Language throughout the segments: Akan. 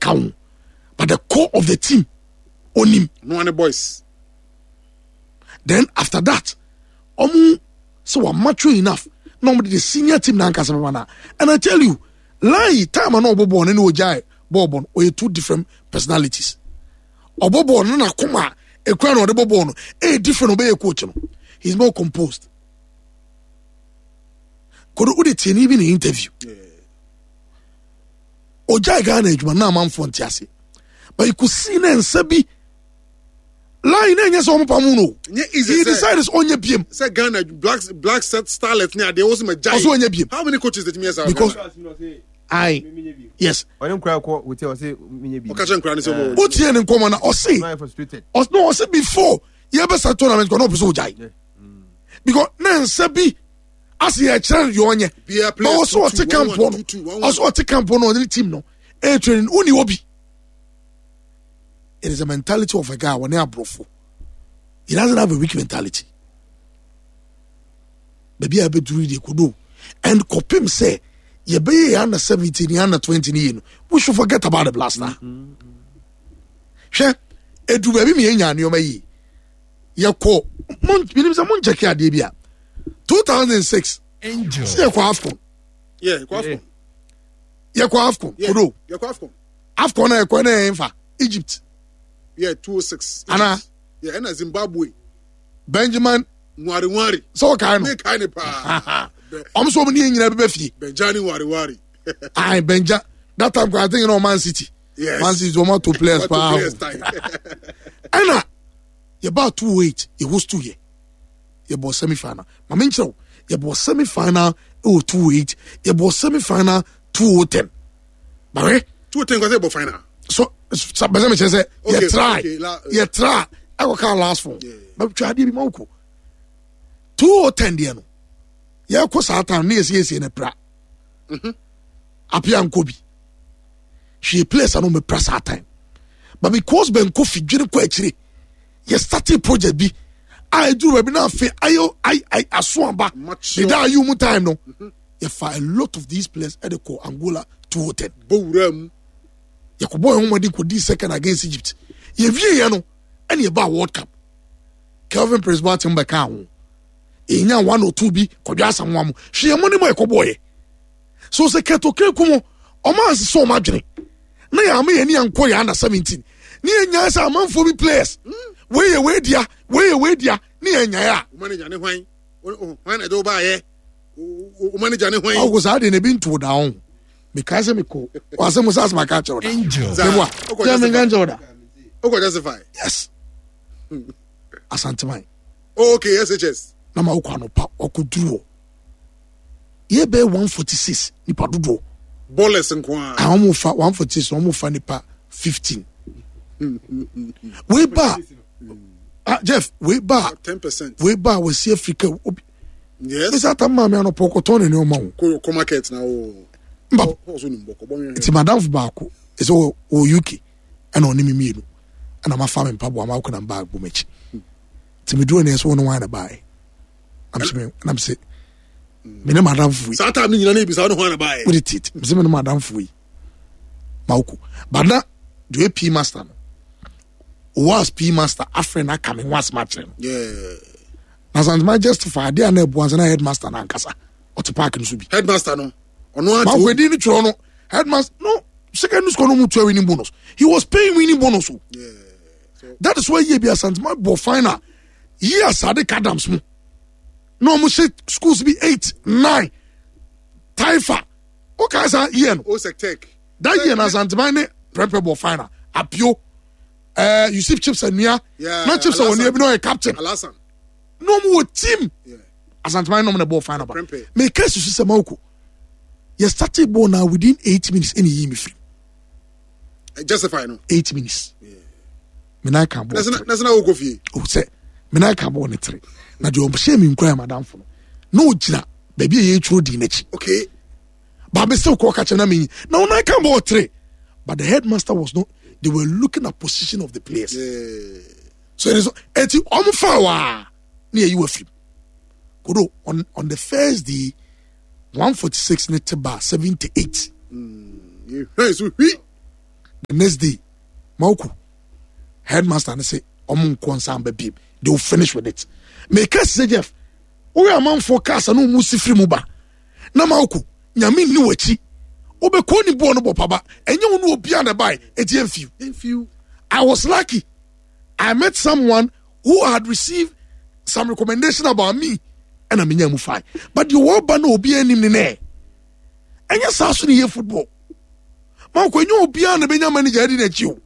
ka ho, but the core of the team onim. No one boys. Then after that, ɔmo sɛ wa mature enough na ɔmo de the senior team na ankasa bɛba na. And I tell you, line time a na ɔbɔ bɔɔl no ne ogyae bɔɔl bɔ no, ɔyɛ two different personalities. Ɔbɔ bɔɔl no na koma ekura na ɔde bɔ bɔɔl no, ɛyɛ different ɔbɛyɛ coach no. He's more composed. Kodo wode tie ne bi ne interview. Ogyae Ghana adwuma na amanfoɔ nte ase. But you could see na nsa bi line na ɛnyɛ sɛ wɔn pam no. He decided sɛ ɔnyɛ biem. Sɛ Ghana black black set starlet ne adeɛ wɔsɛ ma gyae. Ɔsɛ ɔnyɛ biem. How many coaches did you hear? Because I yes. Ɔne nkura kɔ hotel ɔsɛ menyɛ bi. Ɔka kyerɛ nkura ne sɛ ɔbɔ. Wotie ne nkɔmɔ na ɔse. No ɔse before yɛbɛsa tournament kɔ na ɔpɛ sɛ ɔgyae. Because na nsa bi ase yɛ kyerɛ no deɛ ɔnyɛ. But ɔsɛ ɔte camp no ɔsɛ ɔte camp no ɔne team no ɛyɛ training wonni hɔ bi. It is a mentality of a guy wɔne aborɔfo. He doesn't have a weak mentality. Baabi a ɛbɛduru deɛ kodo and kɔpem sɛ yɛbɛyɛ yɛ under 17 yɛ under 20 ne yie no we should forget about the blaster. Hwɛ edu baabi mi yɛnya nneɛma yie yɛkɔ mo menim sɛ mo nkyɛke adeɛ bi a 2006 sɛ yɛkɔ AFCON. Yeah, yɛkɔ AFCON. Yɛkɔ AFCON kodo. Yɛkɔ AFCON. AFCON na yɛkɔ na yɛn fa Egypt. Yeah, 206. Ana. Yeah, ɛna Zimbabwe. Benjamin. Nwari nwari. Sɛ ɔkae no. Ne kae ne paa. Ɔmo sɛ ɔmo ne yɛn nyinaa bɛbɛ fie. Benjani nwari nwari. Ayi Benja that time I think you know Man City. Yes. Man City ɔmo ato players paa. Ɛna yɛbaa 208 yɛ host yɛ yɛbɔ semi final. Maame nkyerɛw yɛbɔ semi final ɛwɔ 208 yɛbɔ semi final 2010. Bàwɛ. 2010 kɔsɛ yɛbɔ final. So bɛsɛ mi kyerɛ sɛ yɛ try yɛ try ɛkɔ kaa last four. Bɛ twa adeɛ bi ma wokɔ 2010 deɛ no yɛkɔ saa time ne yɛsiesie no pra. Apia nkɔ bi. Hwee players ano mepra saa time. But because Ben Kofi dwene kɔ akyire yɛ starting project bi a eduru baabi na afei ayo ay ay aso aba ne da ayi mu time no yɛfa a lot of these players ɛde kɔ Angola 2010. Bɔ wura mu. Yɛkɔbɔ yɛn ho mmɔden kɔdii second against Egypt. Yɛwie yɛ no ɛne yɛbaa World Cup. Kelvin Prince Boateng bɛkaa ho. Yɛnya one or two bi kɔdwa asamoa mu. Hwɛ yɛn mo ne mu a yɛkɔbɔɔyɛ. So sɛ kɛtɔkɛ ku mu ɔmo ansesɛ ɔmo adwene na yɛn ama yɛn ani ankɔ yɛn under 17 ne yɛn nyaa sɛ amanfoɔ bi players wei yɛ wei dea wei yɛ wei dea ne yɛn nyae a. Wo manager ne hwan? Hwan na ɛde wo baayɛ? Wo manager ne hwan? Ɔwɔ saa deɛ na ebi nto da ho. Mekae sɛ mekɔ wasɛ mo sɛ asɛm aka akyerɛ wo da. Meboa sɛ menka nkyerɛ wo da. Wokɔ justify? Yes. Asanteman. Oh, okay, SHS. Na ma wokɔ anɔpa ɔkɔduru hɔ. Yɛ bɛyɛ 146 nipa dodoɔ. Ballers nko ara. Ah, wɔn fa 146 wɔn fa nipa 15. Wei ba ah Jeff wei ba 10%. Wei ba wɔsi Africa obi. Yes. Ɛsɛ ata maame anɔpɔ ɔkɔtɔn ne nneɛma o. Kɔ kɔ market na o. Mba. Ɔso nim bɔkɔ bɔ nhwɛ. Nti madam baako ɛsɛ wɔ wɔ UK ɛna ɔne me mmienu ɛna ma fa me mpaboa ma akɔ na bag bɔ m'akyi. Nti me duro ne ɛsɛ wɔn wɔn na baeɛ. Nam sɛ me ne madam fo yi. Saa time ne nyina ne ebisa ɔne hwan na baeɛ. Wode tit me sɛ me ne madam fo yi. Ma wokɔ. But na deɛ P master no. Was P master afrɛ na aka me ho asɛm akyerɛ no. Yeah. Na santema justify adeɛ a na ɛboa sɛ na headmaster no ankasa ɔte park no so bi. Headmaster no ɔno ate. Makwedi no twerɛ no headmaster no secondary school no mu tua winning bonus. He was paying winning bonus o. Yeah. So, that is why yie bi asantema bɔ final yie asade kadams mu na wɔn hyɛ schools bi 8 9 taifa o ka saa yie no. Osec Tech. That year na asantema ne prɛmpɛ bɔ final apio. Yusuf Chips Anua, yeah, na Chips Anua bi na ɔyɛ captain. Alasan. Na ɔmo wɔ team. Yeah. Asanteman nom na bɔɔ final ba. Me ka susu sɛ Mawuko. Yɛ started ball na within 8 minutes ɛna yi me firi. Justify no. 8 minutes. Yeah. Me nan ka bɔɔl tere. Na sɛ na wokɔ fie. O sɛ me nan ka bɔɔl ne tere. Na deɛ ɔhyɛ me nkura yɛ madamfo no. Na ogyina baabi a yɛtwerɛ din n'akyi. Okay. But me still call catch na me. Na ɔnan ka bɔɔl tere. But the headmaster was not. They were looking at position of the players. Yeah. So it is. Eti ọmụ fa wa ni eyi wa firi. Kodo on the first day 146 ne te ba 78. Yeah, so we. The next day, Mauku, headmaster ne se ɔmo nkɔ nsan ba biem. They will finish with it. Meka sɛ Jeff, woyɛ amanfoɔ cars a na ɔmo si firi mu ba. Na Mauku, nyame nni w'akyi. Wobɛkɔ ne boɔ no bɔ paba. Ɛnyɛ wo ne obiara na ɛbae. Eti ɛmfiw. I was lucky. I met someone who had received some recommendation about me ɛna menya mu fine. But deɛ wɔba na obiara anim ne nɛ. Ɛnyɛ saa so ne yɛ football. Mauku, ɛnyɛ obiara na bɛnya manager adi n'akyi o.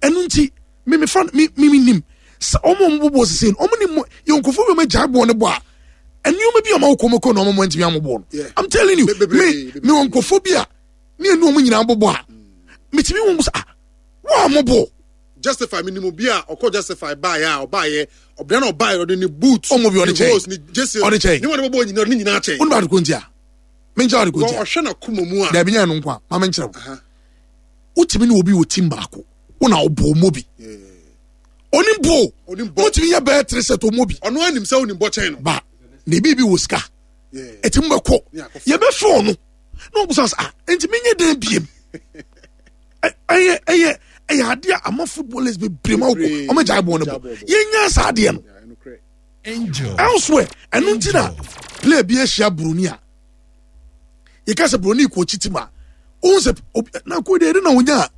Ɛno nti, me me fa me me nim sɛ ɔmo ɔmo bɔbɔ sese no ɔmo nim yɛ nkurɔfoɔ bi ɔmo agyae bɔɔl no bɔ a nneɛma bi a ɔmo akɔ ɔmo kɔ na ɔmo ntumi amɔ bɔɔl no. I'm telling you, me me wɔ nkurɔfoɔ bi a ne ɛnu ɔmo nyinaa bɔbɔ a metumi wɔn sɛ ah wɔn a mo bɔ. Justify mi nimu bi a ɔkɔ justify baayɛ a ɔbaayɛ ɔbɛn na ɔbaayɛ ɔde ne boot ɔmo bi ɔde kyɛn ne jesi ɔde kyɛn ne wɔn de bɔbɔ nyinaa ɔde ne nyinaa kyɛn. Ɔno ba ade ko ntia menkyerɛ ade ko ntia ɔhwɛ na kuma mu a dabi nyɛ no nko a ma menkyerɛ wo wotumi ne obi wɔ team baako wo na ɔbɔ ɔmɔ bi onim bo wotumi yɛ bɛyɛ tere sɛ ɔmɔ bi ɔno anim sɛ onim bɔ kyɛn no ba na ebi bi wɔ sika eti mu bɛkɔ yɛbɛfrɛ ɔno na ɔbusa sɛ ah nti menyɛ dɛn biem ɛyɛ ɛyɛ ɛyɛ adeɛ a ama footballers bebree ma wokɔ ɔmo gyae bɔɔl no bɔ yɛnya saa adeɛ no elsewhere ɛno nti na player bi ahyia buroni a yɛka sɛ buroni kɔ akyi tim a wohu sɛ na kɔ deɛ ɛde na wonya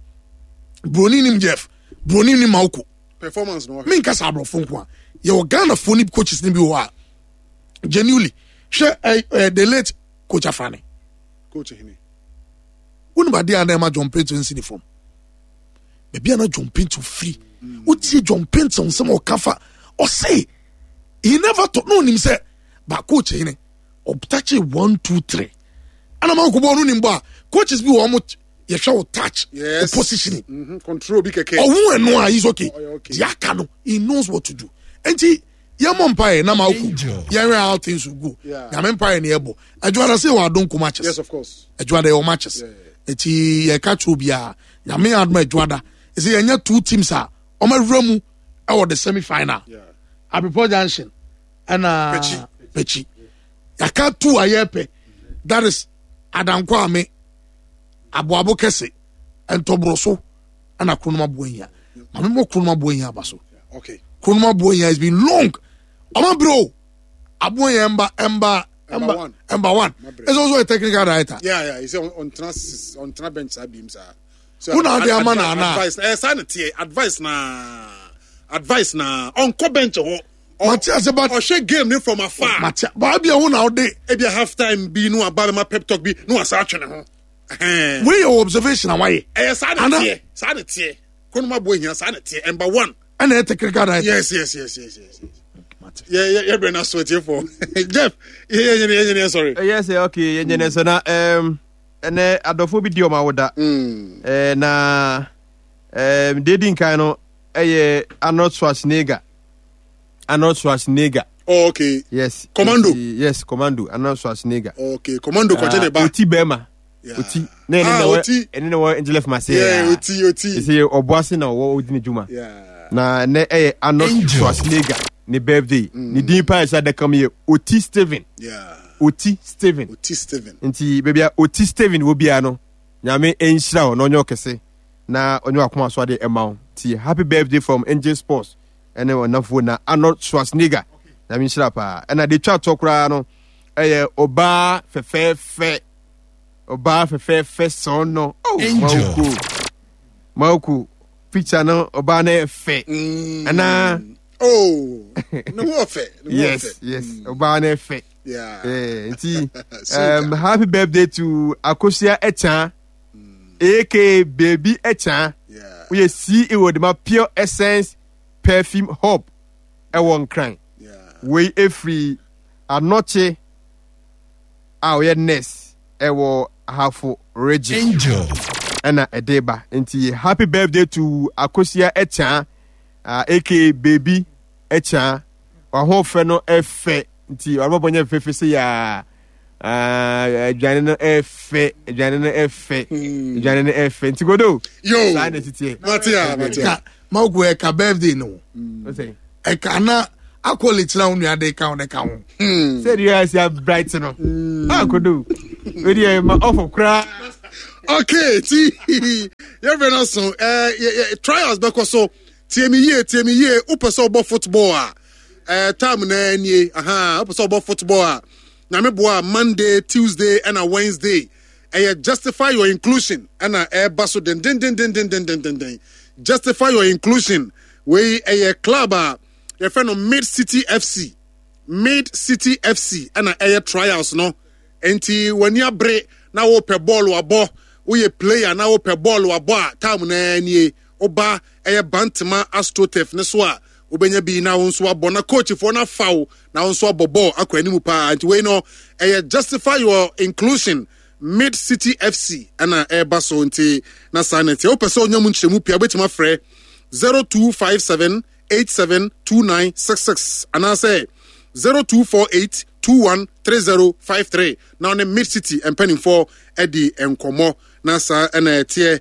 buroni nim jeff buroni nim mawoko performance no menka sɛ aborɔfo nko a yɛwɔ ghanafoɔ ne coaches no bi wɔ hɔ a genuinely hwɛ eh, eh, the late coach afrane coach hene wonim adeɛ a na ɛma john pinto nsi ne fam baabi a na john pinto firi wotie john pinto nsɛm a ɔka fa ɔse he never thought na onim sɛ ba coach hene ɔtakye one two three ɛna ma nkɔbɔ no nim bɔ a coaches bi wɔ ɔmo yɛhwɛ wo touch yes. wo positioning mm -hmm. control bi kɛkɛ ɔho ɛno a he's okay deɛ aka no he knows what to do nti yɛmmɔ mpaeɛ na ma woko yɛnhwɛ how things will go nyame mpaeɛ ne yɛbɔ adwuada sɛ yɛwɔ adonko matches yes, of course. adwuada yɛwɔ matches nti yɛka kyerɛ obiara nyame adom adwuada ɛsɛ yɛnyɛ two teams a ɔmawura mu ɛwɔ the semi final yeah. Abepɔ Junction ɛna Pekyi yɛaka two a yɛpɛ that is Adankɔ Ame Aboabo Kɛse Ntɔboroso ɛna Kronom Aboahia maame bɔ Kronom Aboahia aba so okay. Kronom Aboahia has been long ɔma bere o Aboahia ɛmba ɛmba ɛmba ɛmba one ɛsɛ ɔsɔ yɛ technical director. Yeah, yeah, he said on on on bench saa bi mu saa. Wo na ade ama na ana. Advice eh saa na tie advice na advice na ɔnkɔ bench hɔ. Mate ase but ɔhwɛ game ne from afar. Mate ba bia wo na ɔde. Ebi a half time bi no aba ma pep talk bi no asa atwe ne ho. Wei yɛ observation a wayɛ. Ɛyɛ saa na tie saa na tie. Konoma bo ehia saa na tie ɛmba one. Ɛna ɛyɛ technical director. Yes yes yes yes yes. Yɛ yɛ yɛ brɛ na so tie fo. Jeff yɛ yɛ yɛ yɛ sorry. Yes okay yɛ nyɛ sɛ na um. Ɛnɛ adɔfoɔ bi di wɔn awoda. Mm. Eh, na eh, deɛ di nkan no ɛyɛ Arnold Schwarzenegger. Arnold Schwarzenegger. Oh, okay. Yes. Commando. Yes, Commando. Arnold Schwarzenegger. Okay, Commando kɔgye ne ba. Oti bɛrima. Oti. Na ɛne na wɔ ɛne na wɔ Angel of Marseille. Yeah, oti oti. Ɛsɛ ɔboase na ɔwɔ odi ne dwuma. Yeah. Na ɛnɛ ɛyɛ Arnold Schwarzenegger ne birthday. Mm. Ne din paa ɛsɛ adaka mu yɛ Oti Steven. Yeah. Oti Steven. Oti Steven. Nti baabi a Oti Steven wɔ biara no, Nyame nhyira wo na ɔnyɛ ɔkɛse na ɔnyɛ wakoma so ade ɛma wo. Nti happy birthday from Angel Sports ɛne ɔnafoɔ na Arnold Schwarzenegger. Nyame nhyira paa. Ɛna de twa toɔ koraa no ɛyɛ ɔbaa fɛfɛɛfɛ. Ɔbaa fɛfɛɛfɛ sɔn no. Oh, Mawuku. Mawuku picture no ɔbaa no yɛ fɛ. Mm. Ɛna Oh, ne ho ɔfɛ. Yes, yes. Ɔbaa no fɛ. Yeah. Eh, nti happy birthday to Akosia Echan, mm. aka Baby Echan. Yeah. Woyɛ CEO de ma Pure Essence Perfume Hub ɛwɔ Nkran. Yeah. Wei efiri Anɔkye a ɔyɛ nurse ɛwɔ Ahafo region. Angel. Ɛna ɛde ba. Nti happy birthday to Akosia Echan. Uh, aka baby ɛkya wahoɔfɛ no ɛfɛ nti ɔbɛbɔ nyɛ fɛfɛ sɛ yaa aduane no ɛfɛ aduane no ɛfɛ aduane no ɛfɛ nti godo yo saa na ɛtiteɛ mate a mate a mawuku ɛka birthday no ɛka na akɔle kyerɛ wo nua de ka wo ne ka ho sɛ deɛ asi abright no akodo wei deɛ ma ɔfɔ koraa. Okay, ti yɛfrɛ no so trials bɛkɔ so. Tie me yie, tie me yie. Wopɛ sɛ wobɔ football a, time na nie. Aha, wopɛ sɛ wobɔ football a, Nyame boa Monday, Tuesday ɛna Wednesday. Ɛyɛ justify your inclusion ɛna ɛba so dendendendendendendenden. Justify your inclusion. Wei ɛyɛ club a yɛfrɛ no Mid City FC. Mid City FC ɛna ɛyɛ trials no. Enti w'ani abere na wopɛ bɔɔlo abɔ, woyɛ player na wopɛ bɔɔlo abɔ a, time no ara nie. Woba ɛyɛ Bantama AstroTurf no so a, wobɛnya bi na wo nso abɔ na coachfoɔ no afa wo na wo nso abɔ bɔɔl akɔ anim paa. Nti wei no ɛyɛ Justify Your Inclusion Mid City FC ɛna ɛreba so nti na saa na ɛteɛ. Wopɛ sɛ wonya mu nkyerɛmu pii a, wobɛtumi afrɛ 0257 872966 anaasɛ 0248 213053 na ɔne Mid City mpanimfoɔ adi nkɔmmɔ na saa ɛna ɛteɛ.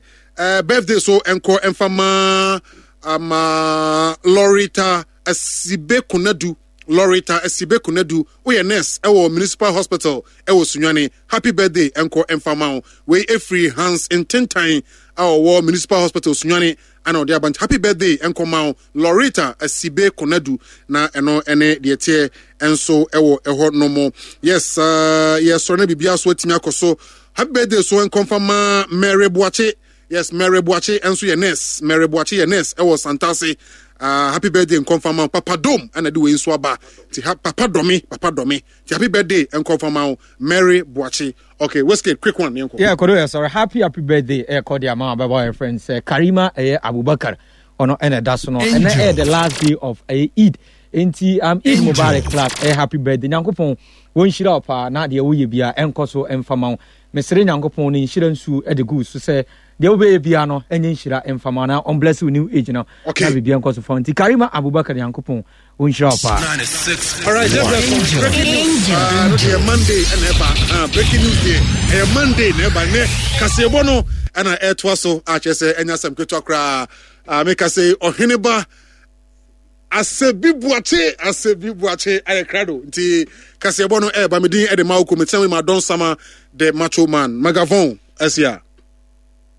Birthday so nkɔ mfa ma ama Lorita Asibe Konadu. Lorita Asibe Konadu, woyɛ nurse ɛwɔ Municipal Hospital ɛwɔ Sunyani. Happy birthday nkɔ mfa ma wo. Wei efiri Hans Ntentan a ɔwɔ Municipal Hospital Sunyani ana ɔde aba nti happy birthday nkɔma wo Loretta Asibe Konadu na ɛno ɛne deɛ teɛ nso ɛwɔ ɛhɔ no mo. Yes, yɛsɔre na biribiara so atumi akɔ so. Happy birthday so nkɔmfa ma Mary Boakye. Yes, Mary Boakye nso yɛ nurse. Mary Boakye yɛ nurse ɛwɔ Santase. Happy birthday nkɔmfa ma Papa Dom ɛna de wei nso aba. Ti ha Papa Dɔme, Papa Dɔme. Ti happy birthday nkɔmfa ma wo Mary Boakye. Okay, Wizkid, quick one. Yɛnkɔ. Yeah, Kodo, yeah, sorry. Happy, happy birthday. Eh, Kodi ama ababa your friend sɛ Karima eh, Abubakar. Ono ene da so no. Ene eh, the last day of eh, Eid. Enti Eid Mubarak class. Eh, happy birthday. Nyankopɔn won hyira wo paa na deɛ woyɛ bia ɛnkɔ so ɛmfa ma wo. Mesrɛ Nyankopɔn ne nhyira nsuo de gu so sɛ deɛ wobɛyɛ bia no ɛnyɛ nhyira ɛmfa ma na ɔn bless wo new age no. Okay. Na biribi ɛnkɔ so fa wo. Nti Karima Abubakar Nyankopɔn Wonhyira wo paa. All right, just a breaking news. No deɛ Monday ɛna ɛba. Breaking news deɛ ɛyɛ Monday na ɛba. Nɛ kaseɛbɔ no ɛna ɛtoa so akyerɛ sɛ ɛnya asɛm ketewa koraa. Meka sɛ ɔhene ba Asebi Buakye, Asebi Buakye ayɛ krado. Nti kaseɛbɔ no ɛɛba. Me din ɛde ma oko. Mekyɛn ma Don Sama the Macho Man. Magavon ɛsia.